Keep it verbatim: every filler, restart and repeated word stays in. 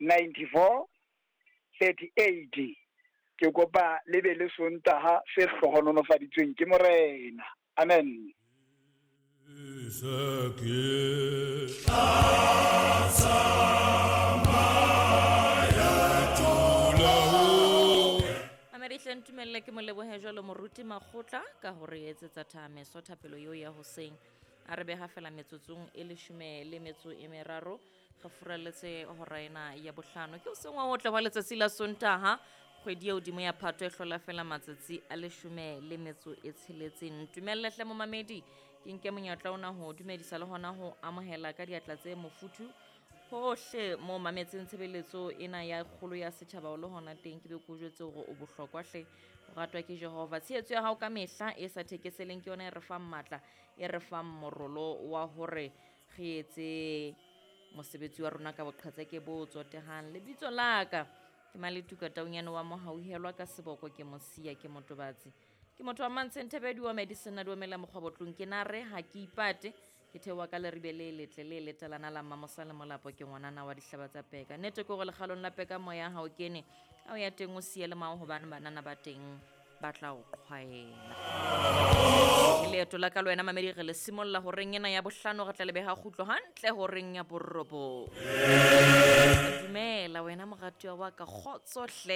ninety four thirty eight. Ke kopa le be le Sontaha se hlohonolofaditsweng ke Morena. Amen. Mamedi hle ntumelle ke mo lebohe jwalo moruti Makgotla ka hore etsetsa thameso thapelo eo ya hoseng. A re beha fela metsotsong e leshome le metso e meraro re furaletse hora ena ya bohlano. Ke hoseng wa hotle wa letsatsi la Sontaha, kgwedi ya hodimo ya Phato e hlola fela matsatsi a leshome le metso e tsheletseng. Ntumelle hle momamedi ke nke monyetla ona ho dumedisa le hona ho amohela ka diatla tse mofuthu hohle mo mametseng tshebeletso ena ya kgolo ya setjhaba o le hona teng. Ke be ke o jwetse hore o bohlokwa hle, o ratwa ke Jehova. Tshehetso ya hao ka mehla e sa thekeseleng ke yona e re fang matla, e re fang morolo wa hore re etse mosebetsi wa rona ka boqhetseke bo tsotehang. Lebitso la ka ke Maletuka Taunyane wa Mohauhelwa ka seboko ke Mosia ke Motobatsi. Ke motho wa Mantsheng Thebedi wa Medicine a duomela mokgwabotlong ke nare ha ke ipate. Ke theoha ka leribe le letle le letalana la Mmamosa le Molapo ke ngwanana wa dihlaba tsa peka. Nnete ke hore lekgalong la peka moya ha o kene, ha o ya teng o siye le mao hobane banana ba teng ba tla o qhwaela. Ke leeto la ka le wena mamedi re le simolla horeng ena ya bohlano, re tla le beha kgutlo hantle horeng ya borobong. Dumela wena moratuwa wa ka, kgotso hle.